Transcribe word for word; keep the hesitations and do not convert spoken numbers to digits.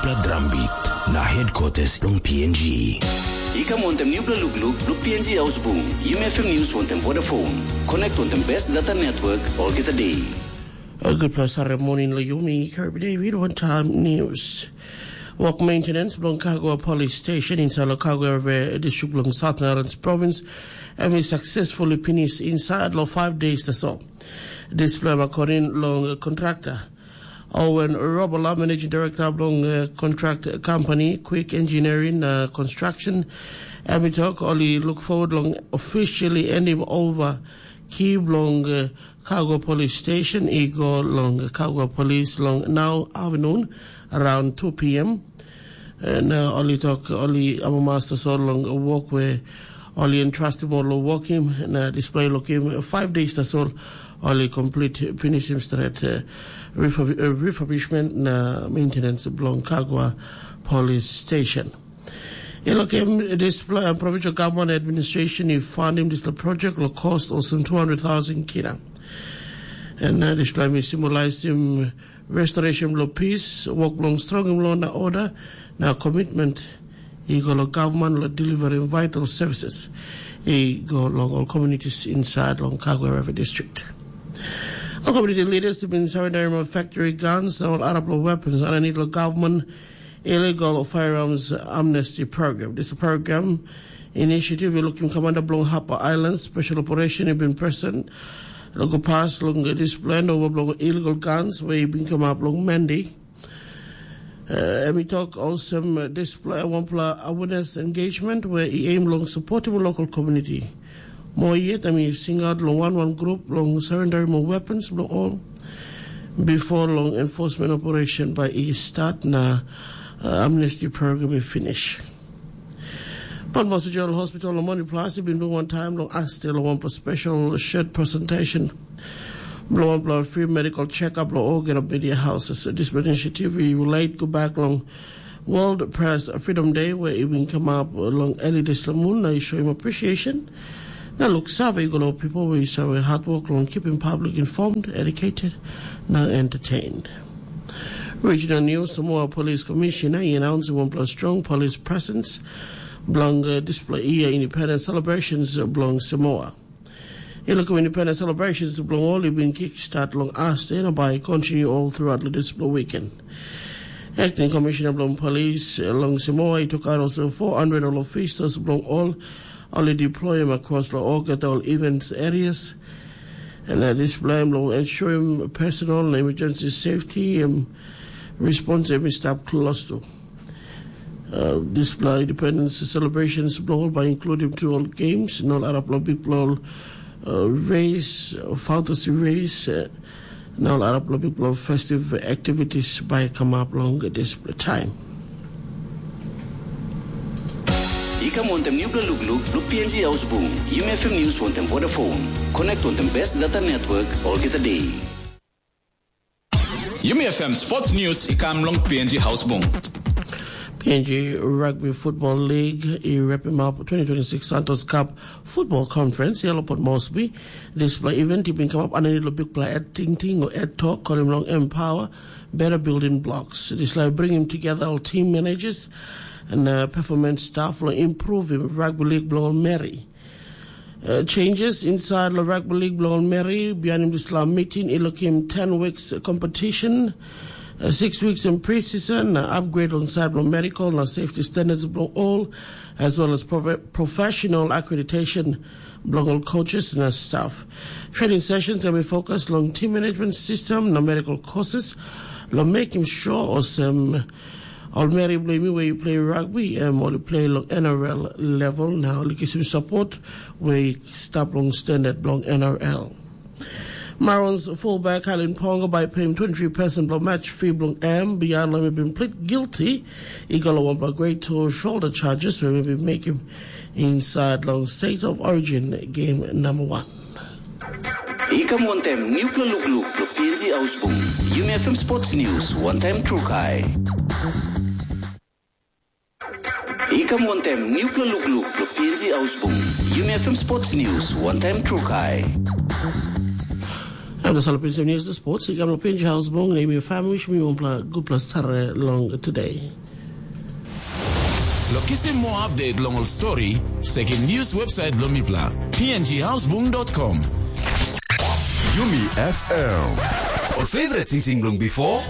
Pla drambit na headquarters long P N G. I kam wantem nupela lukluk blo P N G Ausbung, Yumi F M News wantem Vodafone. Connect wantem best data network olgeta day. A gutpela sare moning lo yumi, Kirby David, one time news. Work maintenance bilong Kagua Police Station inside lo Kagua River District bilong Southern Islands Province, em i successfully finish inside lo five days tasol. Dispela em according long contractor Owen Robola, Managing Director bilong uh, contract company Quick Engineering uh, Construction, em i tok ol i look forward long officially ending over key bilong uh, Kagua Police Station i go long Kagua Police long now afternoon around two p.m. Na ol i tok ol i amamas tasol long wok we ol i entrustim ol long wokim na display lokim five days tasol ol i complete finishim stret uh, refurb- uh, refurbishment na maintenance bilong Kagua Police Station. I lokim dispela provincial government administration i fundim dispela project lo cost olsem two hundred thousand kina. And uh, dispela mi symbolizim restoration lo peace, work long strongim law na order, na commitment i go lo government lo delivering vital services i go long all communities inside long Kagwe River District. All community leaders have been surrendering factory guns and all other weapons underneath the government illegal firearms amnesty program. This program initiative i lukim commander bilong Hapa Island special operation i bin present lo go pas long dispela ova bilong illegal guns we i bin kamap long Mandi. Uh, em i tok olsem uh, dispela wanpela awareness engagement we i aim long supportim local community. Mo yet em i singaut long wan wan grup long surrendering mo weapons bilong all before long enforcement operation by i start na uh, amnesty program i finish. But Master General Hospital long Money Plus i bin bring one time long Astel long one special shirt presentation bilong wanpela free medical check-up long olgeta media houses. Dispela initiative i relate go back long World Press Freedom Day where i bin come up long early this moon na i show him appreciation. Na look save go long people where you save hard work long keeping public informed, educated, na entertained. Regional News, Samoa Police Commissioner i announce wanpela strong police presence bilong uh, display year independence celebrations bilong Samoa. I lukim independence celebrations bilong ol i bin kickstart long Asde na bai continue all throughout lo dispela weekend. Acting Commissioner bilong Police long Samoa i took out also four hundred ol officers bilong ol ol i deploy across lo olgeta ol events areas. And uh, dispela em long ensuring personal na emergency safety em response em i stap close to. Uh, dispela independence celebrations bilong ol bai including to all games na ol arapela bikpela ol uh, race, fantasy race, uh, na ol arapela bikpela festive activities bai kamap long dispela time. I kam wantem nupela lukluk blo P N G Ausbung, Yumi F M News wantem Vodafone. Connect wantem best data network olgeta day. Yumi F M Sports News i kam long P N G Hausbung. P N G Rugby Football League i wrap him up twenty twenty-six Santos Cup Football Conference i alopot Mosby. Dispela event i bin kamap aninit lo bikpela et tingting o et tok kolim long Empower Better Building Blocks. Dispela i bringim together ol team managers and uh, performance staff lo improvim rugby league bilong ol meri. Uh, changes inside lo rugby league bilong ol meri bihainim dispela meeting i lukim ten weeks competition, uh, six weeks in pre-season, uh, upgrade on side bilong medical na safety standards bilong all, as well as prof- professional accreditation bilong ol coaches na staff. Training sessions em i focus long team management system na medical courses lo making sure olsem ol meri bilong mi we i play rugby em ol i play long N R L level na ol i kisim support we i stap long standard bilong N R L. Marons fullback Halen Ponga bai payim twenty-three percent bilong match fee bilong em bihain long em i bin plead guilty i go long wanpela grade two shoulder charges we em i bin mekim inside long State of Origin game number one. I kam wantem nupela lukluk lo P N G Ausbung, Yumi F M Sports News, one time trukai. I kam wantem nupela lukluk lo P N G Ausbung, Yumi F M Sports News, one time trukai. Em na sala pinis news na sports i kam long P N G House Bung na imi family wishim yu wanpela gutpela start long today. Lo kisim moa update long ol story, sekim news website bilong mipela, p n g housebung dot com. Yumi F M. Ol favorite singsing bilong before?